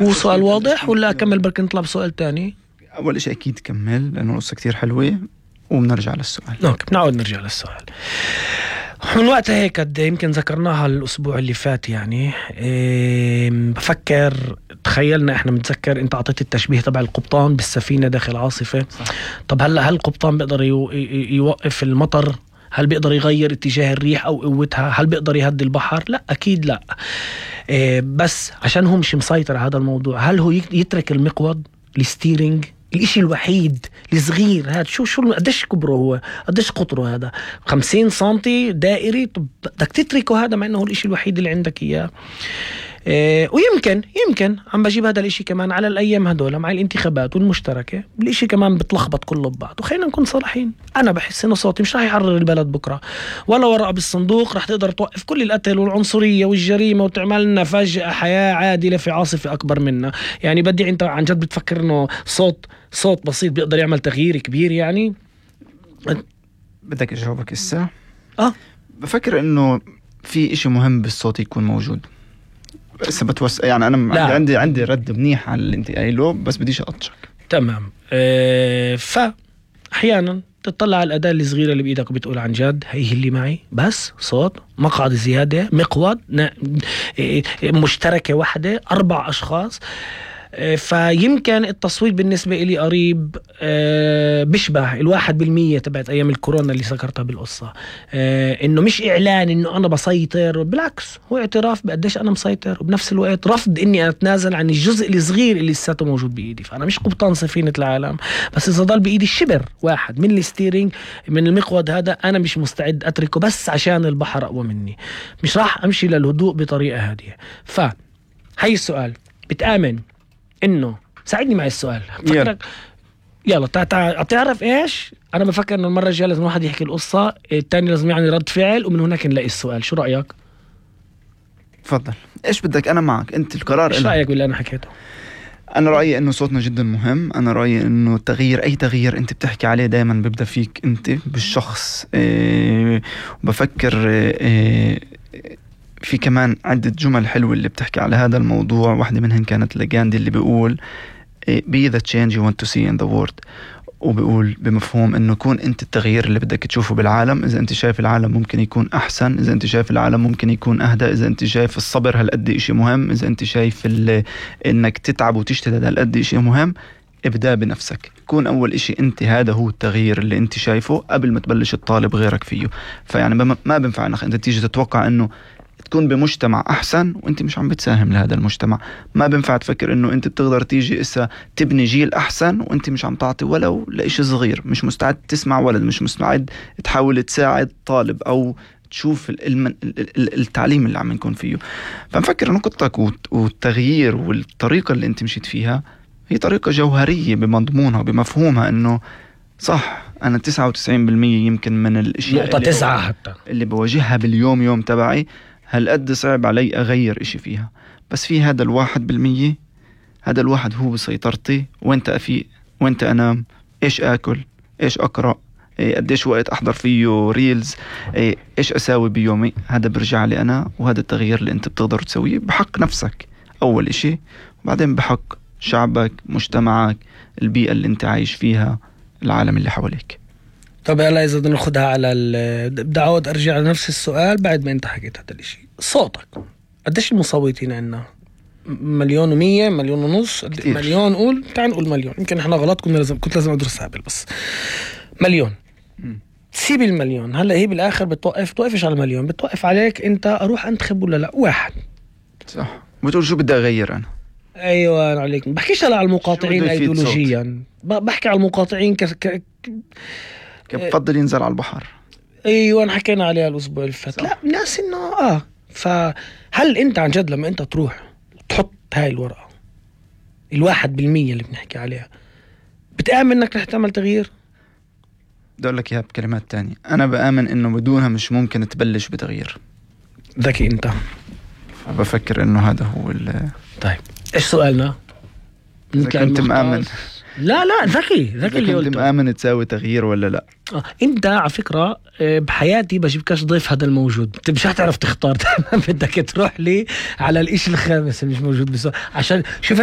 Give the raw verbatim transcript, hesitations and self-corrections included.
هو سؤال واضح ولا أكمل بركي نطلع بسؤال تاني؟ أول إشي أكيد كمل لأنه قصة كتير حلوة وبنرجع للسؤال. اوكي بنعود نرجع للسؤال. من وقتها هيك قد يمكن ذكرناها الأسبوع اللي فات يعني إيه بفكر تخيلنا احنا متذكر انت عطيت التشبيه تبع القبطان بالسفينة داخل عاصفة. طب هلا هل القبطان بيقدر يوقف المطر؟ هل بيقدر يغير اتجاه الريح أو قوتها؟ هل بيقدر يهدي البحر؟ لا أكيد لا. إيه بس عشان هو مش مسيطر على هذا الموضوع، هل هو يترك المقود الستيرينج الاشي الوحيد الصغير هذا؟ شو شو قديش كبره هو، قديش قطره هذا، خمسين سنتي دائري؟ طب بدك تتركه هذا مع انه هو الاشي الوحيد اللي عندك اياه. إيه ويمكن يمكن عم بجيب هذا الاشي كمان على الايام هدول مع الانتخابات والمشتركة، الاشي كمان بتلخبط كله ببعض. وخلينا نكون صراحين، انا بحس انه صوتي مش راح يحرر البلد بكره، ولا ورقة بالصندوق راح تقدر توقف كل القتل والعنصرية والجريمة وتعمل لنا فجأة حياة عادلة في عاصفة اكبر منا. يعني بدي انت عن جد بتفكر انه صوت صوت بسيط بيقدر يعمل تغيير كبير؟ يعني بدك اجاوبك الساعة؟ اه بفكر انه في اشي مهم بالصوت يكون موجود. بس بتوس يعني انا لا. عندي عندي رد منيح على اللي انت قايله، بس بديش اقطشك. تمام. اه ف احيانا تطلع على الاداة الصغيرة اللي بايدك وبتقول عن جد هي اللي معي، بس صوت مقعد زيادة مقود مشتركة واحدة أربع أشخاص. فيمكن التصويت بالنسبة إلي قريب بشبه الواحد بالمية تبعت أيام الكورونا اللي ذكرتها بالقصة. إنه مش إعلان إنه أنا بسيطر، بالعكس هو اعتراف بقديش أنا مسيطر، وبنفس الوقت رفض إني أتنازل عن الجزء الصغير اللي لساته موجود بإيدي. فأنا مش قبطان سفينة العالم، بس إذا ضل بإيدي الشبر واحد من الستيرينج من المقود هذا أنا مش مستعد أتركه بس عشان البحر أقوى مني. مش راح أمشي للهدوء بطريقة هادية. فهي السؤال، بتآمن انه ساعدني مع السؤال فكرك يلا تع... تع... تعرف ايش انا بفكر انه المره الجايه لازم واحد يحكي القصه، الثاني لازم يعني رد فعل، ومن هناك نلاقي السؤال. شو رايك؟ تفضل. ايش بدك؟ انا معك، انت القرار. ايش رايك باللي انا حكيته؟ انا رايي انه صوتنا جدا مهم. انا رايي انه التغيير، اي تغيير انت بتحكي عليه دائما بيبدا فيك انت بالشخص. إيه بفكر إيه في كمان عدة جمل حلوة اللي بتحكي على هذا الموضوع. واحدة منهن كانت لغاندي اللي بيقول be the change you want to see in the world، وبيقول بمفهوم انه كون انت التغيير اللي بدك تشوفه بالعالم. اذا انت شايف العالم ممكن يكون احسن، اذا انت شايف العالم ممكن يكون اهدى، اذا انت شايف الصبر هالقد اشي مهم، اذا انت شايف انك تتعب وتجتهد هالقد اشي مهم، ابدأ بنفسك. كون أول إشي أنت، هذا هو التغيير اللي أنت شايفه قبل ما تبلش تطالب غيرك فيه. فيعني ما بينفع انك أنت تيجي تتوقع أنه تكون بمجتمع أحسن وأنت مش عم بتساهم لهذا المجتمع. ما بينفع تفكر أنه أنت بتقدر تيجي إسا تبني جيل أحسن وأنت مش عم تعطي ولو لإشي صغير، مش مستعد تسمع ولد، مش مستعد تحاول تساعد طالب أو تشوف المن... التعليم اللي عم نكون فيه. فنفكر أنه قطتك والتغيير والطريقة اللي أنت مشيت فيها هي طريقة جوهرية بمضمونها وبمفهومها. أنه صح أنا تسعة وتسعين بالمية يمكن من الأشياء نقطة تسعة حتى اللي بواجهها باليوم يوم تبعي هالقد صعب علي أغير إشي فيها، بس في هذا الواحد بالمية، هذا الواحد هو بسيطرتي. وانت أفيق، وانت أنام، إيش أكل، إيش أقرأ، إيه قديش وقت أحضر فيه ريلز، إيه إيش أساوي بيومي، هذا برجع لي أنا. وهذا التغيير اللي أنت بتقدر تسويه بحق نفسك أول إشي، وبعدين بحق شعبك، مجتمعك، البيئة اللي أنت عايش فيها، العالم اللي حواليك. طب هلا إذا بدنا ناخدها على ال بدي أعود أرجع لنفس السؤال بعد ما أنت حكيت هذا الشيء. صوتك قديش المصوتين عنا؟ مليون ومية، مليون ونص، مليون. قول تعال نقول مليون، يمكن إحنا غلط، كنا لازم كنت لازم أدرس هابل، بس مليون. سيب المليون هلا، هي بالآخر بتوقف توقفش على المليون، بتوقف عليك أنت أروح أنتخب ولا لا. واحد صح، بتقول شو بدي أغير أنا. أيوة عليك. بحكيش هلا على المقاطعين أيديولوجيا، بحكي على المقاطعين ك... ك... بفضل ينزل على البحر. ايوه حكينا عليها الاسبوع اللي فات. لا ناس انه اه فهل انت عن جد لما انت تروح تحط هاي الورقه الواحد بالمية اللي بنحكي عليها بتآمن انك رح تعمل تغيير؟ بدي اقول لك اياها بكلمات تانية، انا بآمن انه بدونها مش ممكن تبلش بتغيير. ذكي انت. بفكر انه هذا هو ال طيب ايش سؤالنا؟ إذا كنت مآمن. لا لا ذكي ذكي اللي قلته. كنت مآمن تساوي تغيير ولا لا؟ آه. انت على فكرة بحياتي بجيبكش ضيف هذا الموجود، انت مش هتعرف تختار. بدك تروح لي على الاشي الخامس اللي مش موجود بس عشان شوف